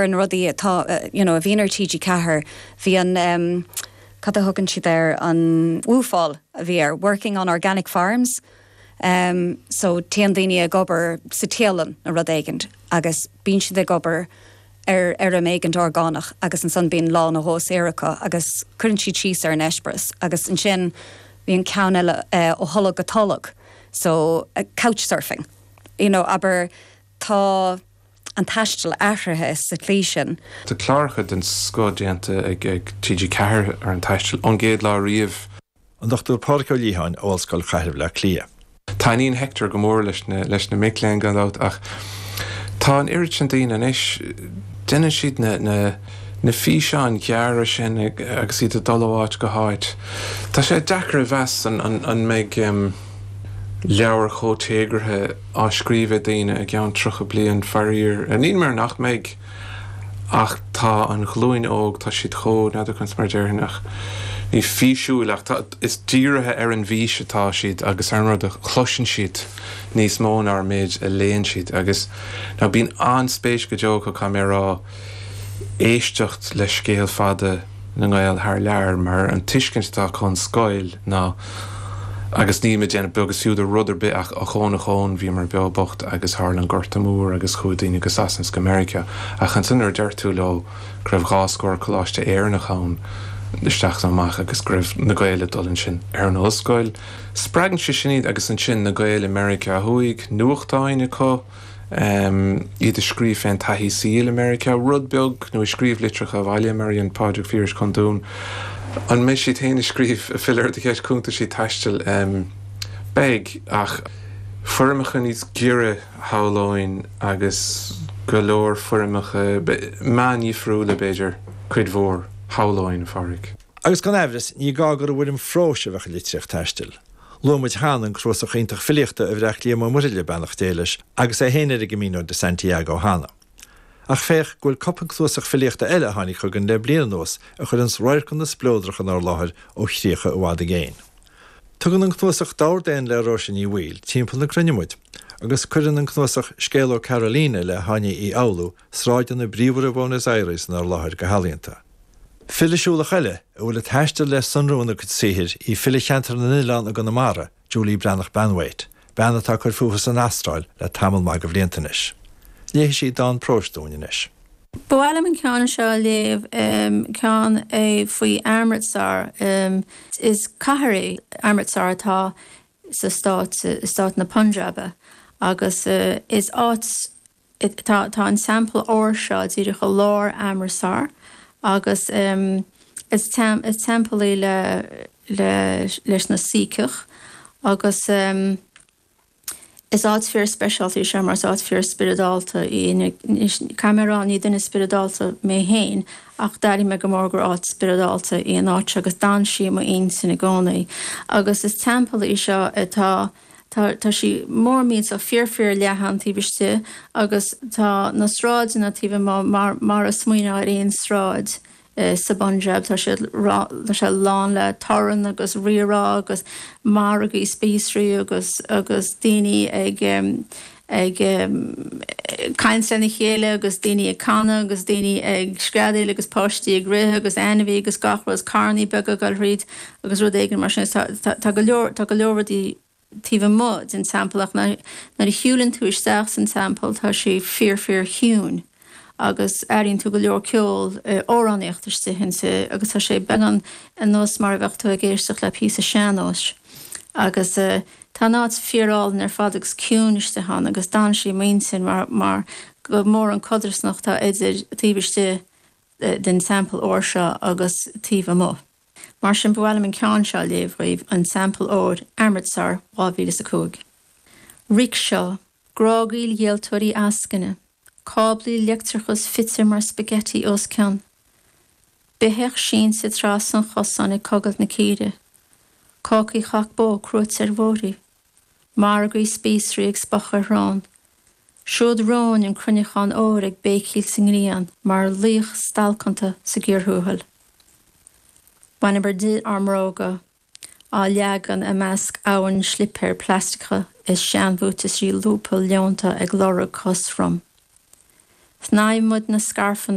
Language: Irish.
Na rudaí atá, you know, a bhíonn ar TG4, bhí an, em, cad a thugann siad air, an WOOFáil a bhí air, working on organic farms, em, so téann daoine ag obair sa téalann nó rud éigint agus bíonn siad ag obair ar fheirm éigint orgánach agus ansan bíonn lá nó dhó saor acu agus cuireann siad síos ar an eispéireas agus ansin bhí an ceann eile, eh, ó tholg go tolg, so couch surfing, you know, abair tá. an taisteal athraithe sa tslí sin. Tá cláracha den scoth déanta ag TG4 ar an taisteal ón gcéad lá riamh. An Dr Pádraig Ó Liatháin ó Ollscoil Chathair Bhaile Átha Cliath. Taitníonn Hector go mór leis na leis na mic léinn gan dabht ach tá an oiread sin daoine anois, déanann siad na na na físeáin ghearra sin agus iad ag dul ó áit go háit. Tá sé deacair a mheas an an an mbeidh leabhair chomh téagartha á scríobh ag daoine i gceann 30 bliain, faraor. Níl mé ag rá nach mbeidh, ach tá an ghlúin óg, tá siad chomh, n'fheadar conas mar a déarfainn, ach ní físiúil ach tá, is dírithe ar an bhfís atá siad agus ar an rud a chloiseann siad níos mó ná an méid a léann siad agus now bíonn an-spéis go deo acu, caithfidh mé a rá, éisteacht le scéal fada na nGael thar lear mar an tuiscint atá acu ón scoil ná, agus níl mé ag déanamh beag is fiú de rud ar bith ach ochón ochón, bhíomar beo bocht agus tharla an Gorta Mór agus chuaigh daoine go Sasana is go Meiriceá ach ansan nuair a deir tú leo go raibh 20 coláiste Éireannach ann isteach is amach agus go raibh na Gaeil ag dul ansin ar an ollscoil, spreagann sé sin iad agus ansin na Gaeil i Meiriceá Thuaidh, nuachtáin acu. iad ag scríobh fén taithí saoil i Meiriceá, rud beag, nó ag scríobh litreacha abhaile, mar a dhein Pádraig Phiarais chun Dún. An mbeidh siad féin ag scríobh, ag filleadh ar do cheist, cuntaisí taistil? Beidh, ach foirmeacha níos giorra, shamhlóinn, agus go leor foirmeacha, meáin dhifriúla, b'fhéidir, cuid mhór, shamhlóinn, a Phádraig. Agus gan aimhreas, ní gá gur i bhfoirm phróis a bheadh an litríocht taistil. Luaigh muid cheana an cnuasach iontach filíochta a bhreac Liam Ó Muirthile, beannacht Dé leis, agus é féin ar an gCamino de Santiago cheana. Ach féach go bhfuil cupla cnuasach filíochta eile a tháinig chugainn le bliain anuas a chuireanns radharcanna spleodracha inár láthair ó chríocha i bhfad i gcéin. Tugann an cnuasach Dordéan le Róise Ní Bhaoill timpeall na cruinne muid, agus cuireann an cnuasach Scéal ó Carolina le hÁine Uí Fhoghlú sráideanna bríomhara Bhuenos Aires inár láthair go healaíonta. File siúlach eile a bhfuil an taisteal le sonrú ina cuid saothair í file Cheantar na nOileán i gConamara, Julie Breathnach Banwait, bean atá ag cur fúithi san Astráil le tamall maith de bhlianta anois. Léifidh sí dán próis dúinn anois. Ba mhaith liom an ceann seo a léamh, ceann é faoi Amritsar. Is cathair é Amritsar atá sa stát, stát na Punjabe agus is áit Tá an Teampall Óir seo díreach i lár Amritsar agus is teampall é le leis na Saíceach agus is áit fíor speisialta í seo mar is áit fíor spioradálta í. Caithfidh mé a rá ní duine spioradálta mé féin ach d'airigh mé go mór gur áit spioradálta í an áit seo agus d'fhan sí i m'intinn i gcónaí agus is teampall í seo atá Tá, tá sí mór millteach, fíor fíor leathan taobh istigh agus tá na sráideanna taobh amuigh mar, mar a smaoineofá ar aon sráid sa bPunjab. Tá siad, tá sé lán le torann agus rírá agus margaí spíosraí agus, agus daoine ag, ag caint lena chéile agus daoine ag canadh agus daoine ag screadaíl agus páistí ag rith agus ainmhí agus gach rud, carrannaí beaga ag dul thríd. agus rud éigin mar sin. Tá go leor, tá go leor rudaí taobh amuigh den teampall ach nuair a shiúlann tú isteach san teampall tá sé fíor fíor chiúin agus airíonn tú go leor ceol, amhránaíocht istigh inti agus tá sé beagán ar nós mar a bheadh tú ag éisteacht le píosa sean-nóis agus tá an áit fíor álainn ar fad agus ciúin istigh ann agus d'fhan sí i m'intinn mar mar go mór an codarsnacht atá idir taobh istigh den teampall óir seo agus taobh amuigh. Mar sin, ba mhaith liom an ceann seo a léamh dhaoibh, An Teampall Óir, Amritsar, 2005. Rickshaw, grágaíl dhíoltóirí eascainne, cáblaí leictreachais fite mar spaghetti os cionn. Beithíoch sínte trasna an chosáin ag cogadh na círe. Cácaí chac bó cruaite ar bhóithrí. Margaí spíosraí ag spochadh ar shrón. Siúd romhainn an cruinneachán óir ag béicíl sa ngrian mar laoch stalcanta sa gcíor thuathail. Bhaineamar di ár mbróga, á leagan i measc abhainn slipéar plaisteacha is seanbhuataisí lúbtha leonta ag lorg cos throm. Shnámh muid na scairfeanna.